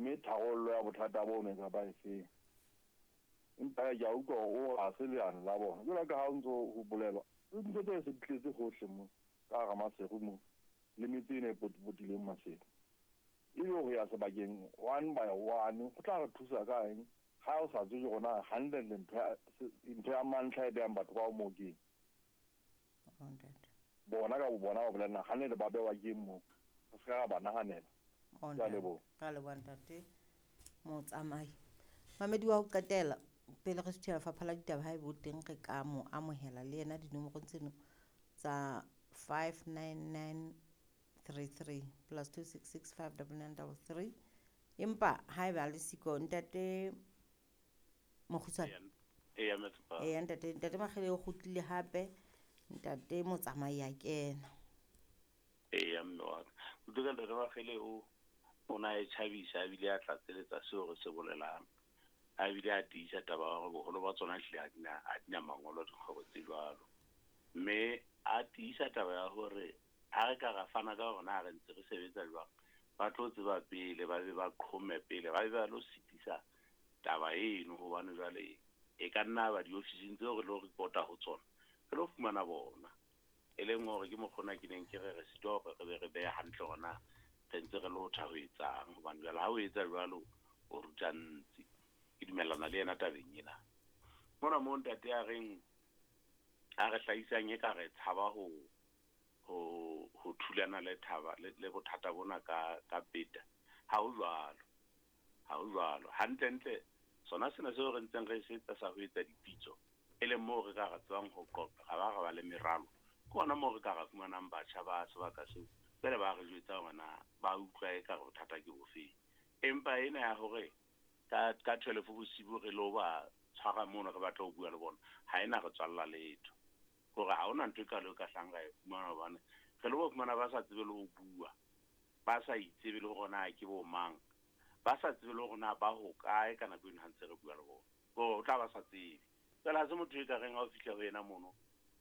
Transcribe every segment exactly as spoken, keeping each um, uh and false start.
Mme tharollo ya bothata bono e ka ba efeng? Empa ke a utlwa hore o ha se leano la bona. Jwalo ka ha o ntso ho bolelwa, ntho tse se di tletse hohle mo ka hara Maseru mo le metse ena e potapotileng Maseru. Ebe ho ya sebakeng one by one ho tla re thusa ka eng ha o sa tsebe hore na hantle ntho ya ntho ya mantlha e behang batho bao moo keng. Bona ka bo bona ba bolela hantle ba bewa keng moo. Re se ka ra ba nahanela. O Ke a ntate. leboha. Ra leboha ntate Motsamai. Mamedi wa ho qetela pele re suthela lefapha la ditaba haeba o teng re ka mo amohela le yena dinomorong tseno tsa five nine nine three three plus two six six five double nine double three. Empa haeba a le siko ntate Mokgutshwane. Eya, Metspa. Eya ntate, ntate Makgele o kgutlile hape, ntate Motsamai a kena. Eya mme wa ka. Utlwe ka ntate Makgele o o na e tjhabisa ebile a tlatseletsa seo re se bolelang. A bile a tiisa taba ya hore boholo ba tsona ehlile ha di na, ha di na mangolo dikgwebo tse jwalo. Mme a tiisa taba ya hore ha re ka ra fana ka hore na re ntse re sebetsa jwang, ba tlo tseba pele, ba be ba qhome pele, ba be ba lo sitisa taba eno hobane jwale e ka nna ba diofising tseo re lo report-a ho tsona, re lo fumana bona. E leng hore ke mokgwa ona ke neng ke re re sitwa hore re be re behe hantle hore na re ntse re lotha ho etsang, hobane jwale ha o etsa jwalo o ruta ntsi. Ke dumellana le yena tabeng ena. Mona moo ntate a reng a re hlahisang e ka re tshaba ho, ho, ho thulana le thaba le, le bothata bona ka, ka peta. Ha ho jwalo. Ha ho jwalo. Hantlentle sona sena seo re ntseng re se etsa sa ho etsa dipitso, e leng moo re ka re tsebang ho qoqa, ra ba ra ba le meralo. Ke hona moo re ka ra fumanang batjha ba sebaka seo, jwale ba re jwetsa hore na ba utlwa e ka re bothata ke bofeng. Empa ena ya hore ka, ka twelve bosibu re lo ba tshwara mono re batla ho bua le bona, ha ena re tswalla letho. Hore ha hona ntho e kalo e ka hlang ra e fumana hobane re lo ba fumana ba sa tsebe le ho bua, ba sa itsebe le hore na ke bo mang, ba sa tsebe le hore na ba hokae ka nako eno ha ntse re bua le bona. Hore o tla ba sa tsebe. Jwale ha se motho e ka reng ha o fihla ho yena mono,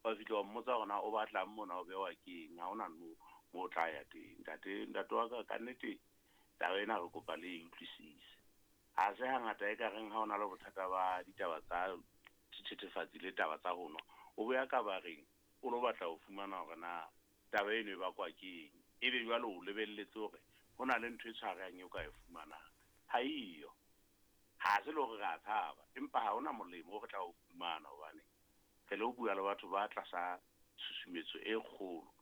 wa fihla wa mmotsa hore na o batlang mona, o bewa ke eng, ha hona mo, mo o tla ya teng. Ntate, ntate wa ka, kannete taba ena re kopa le e utlwisise. Ha se hangata e ka reng ha o na le bothata ba ditaba tsa dithethefatsi le taba tsa ho nwa, o boya ka bareng o lo batla ho fumana hore na taba eno e bakwa ke eng. Ebe jwale o lebelletse hore ho na le ntho e tshwarehang eo ka e fumanang. Ha eyo. Ha se le hore re a tshaba, empa ha hona molemo o re tla o fumana hobane re lo bua le batho ba tlasa tshusumetso e kgolo.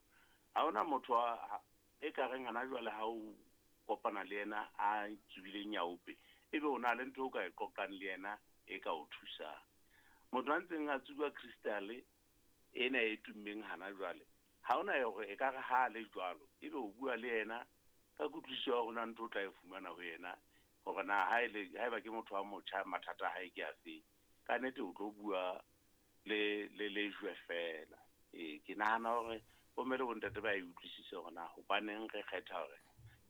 Ha hona motho a, e ka reng hana jwale ha o kopana le yena a tsubileng nyaope, ebe o na le ntho o ka e qoqang le yena e ka o thusang. Motho a ntseng a tsuba crystal ena e tummeng hana jwale, ha hona hore e ka re ha le jwalo, ebe o bua le yena ka kutlwisiso ya hore na ntho o tla e fumana ho yena, hore na ha e le, haeba ke motho wa motjha, mathata a hae ke afe. Ka nnete o tlo bua le, le lejwe feela. Ee, ke nahana hore bomme le bontate ba e utlwisise hore na hobaneng re kgetha hore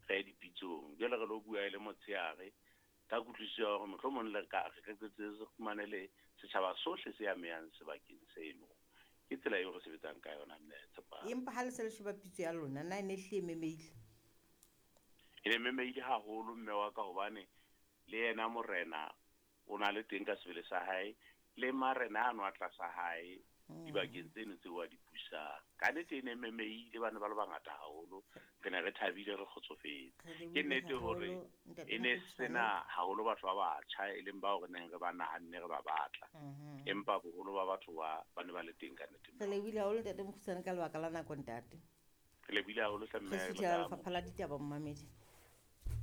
re ye dipitsong. Jwale re lo bua e le motshehare ka kutlwisiso ya hore mohlomong le ka, re qetetse re fumane le setjhaba sohle se amehang sebakeng seno. Ke tsela eo re sebetsang ka yona, mme Tshepang. Empa ha le se le sheba pitso ya lona, na e ne hlile e memeile? E ne memeile haholo mme wa ka, hobane le yena morena o na le teng ka sebele sa hae, le marena ano a tlasa hae dibakeng tseno tseo a di busang. Ka nnete e ne memeile, ba ne ba le bangata haholo, re ne re thabile, re kgotsofetse. Re Ke nnete hore lebohile haholo, ntate e ne Mokgutshwane. sena haholo batho ba batjha e leng bao re neng re ba nahanne re ba batla. Mhm. Empa boholo ba batho ba, ba ne ba le teng ka nnete. Re lebohile haholo ntate Mokgutshwane ka lebaka la nako ntate. Re lebohile haholo hle mme Re suthela Motla. lefapha la ditaba momamedi.